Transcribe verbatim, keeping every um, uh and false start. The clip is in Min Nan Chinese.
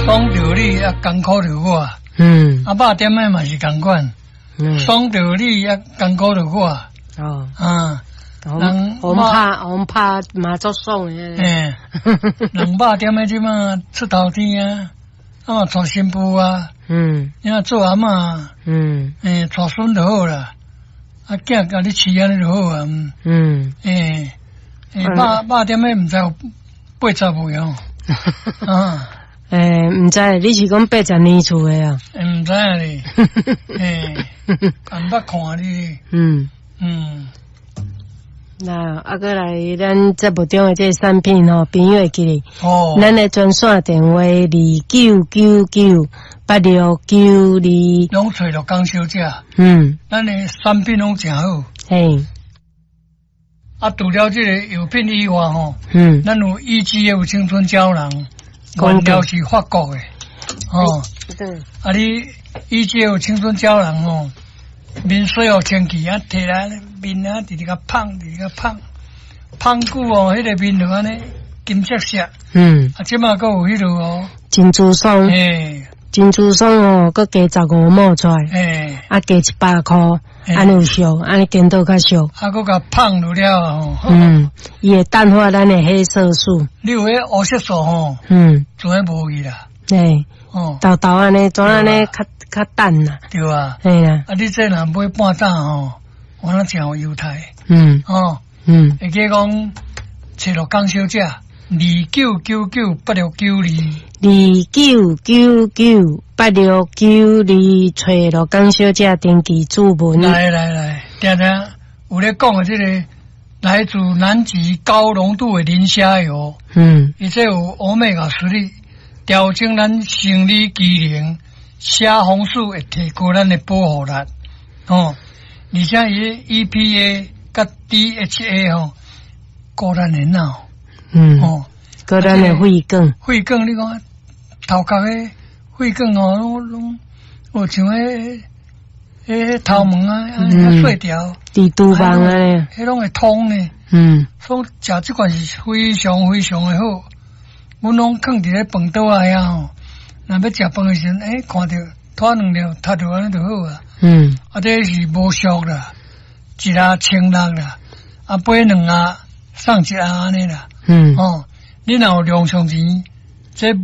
爽著你啊，艱苦著我。嗯。啊，肉點的嘛是仝款。嗯。爽著你啊，艱苦著我。哦。啊。人我們拍我們拍嘛足爽的。欸，人肉點的這馬出頭天啊，啊嘛娶新婦啊。嗯。你若做阿嬤。嗯。欸，娶孫就好啦。啊，囝共你飼按呢就好啊。嗯。欸，欸，肉肉點的毋知有八十未哦。啊。欸，毋知，你是講八十年厝的啊？毋知啊咧。欸，毋捌看你。嗯。嗯。那啊，閣來咱節目中的這個產品吼，朋友會記得。哦。咱的專線電話二九九九八六九二。攏揣著江小姐。嗯。咱的產品攏誠好。嘿。啊，除了這個藥品以外吼，嗯，咱有 E G F 青春膠囊，原料是法國的，哦。對。啊，你 E G F 青春膠囊吼，面洗予清氣啊，提來面啊，直直共芳，直直共芳，芳久哦，彼個面就按呢金色色。嗯。啊，這馬閣有彼個哦。珍珠霜。嘿。珍珠霜哦，閣加十五毫出來。嘿。啊，加一百箍，按呢有俗，按呢顛倒較俗。啊，閣共芳落了吼。嗯，伊會淡化咱的黑色素。你有彼烏色素吼？嗯。就會無去啦。嘿。哦。沓沓按呢，怎按呢較較淡啦。對啊。嘿啊。啊，你這若買半打吼，我那誠有優待。嗯。哦。嗯。會記講，揣著江小姐，二九九九八六九二。二九九九八六九二，揣著江小姐登記注文。來來來，聽聽有咧講的這個來自南極高濃度的磷蝦油。嗯。伊這有歐米伽三，調整咱生理機能，蝦紅素會提高咱的保護力。哦，而且伊 E P A 佮 D H A 吼，顧咱的腦。嗯。哦，顧咱的血管。血管，你講頭殼的血管哦，攏攏有像彼彼頭毛啊，按呢較細條。蜘蛛網按呢。彼攏會通呢。嗯。所以食這款是非常非常的好。阮攏囥佇咧飯桌仔遐吼，若欲食飯的時陣，欸，看著拖兩粒，讀著按呢就好啊。嗯。啊，這是無俗啦，一盒千六啦，啊，買兩盒送一盒按呢啦。嗯。哦，你若有零用錢，這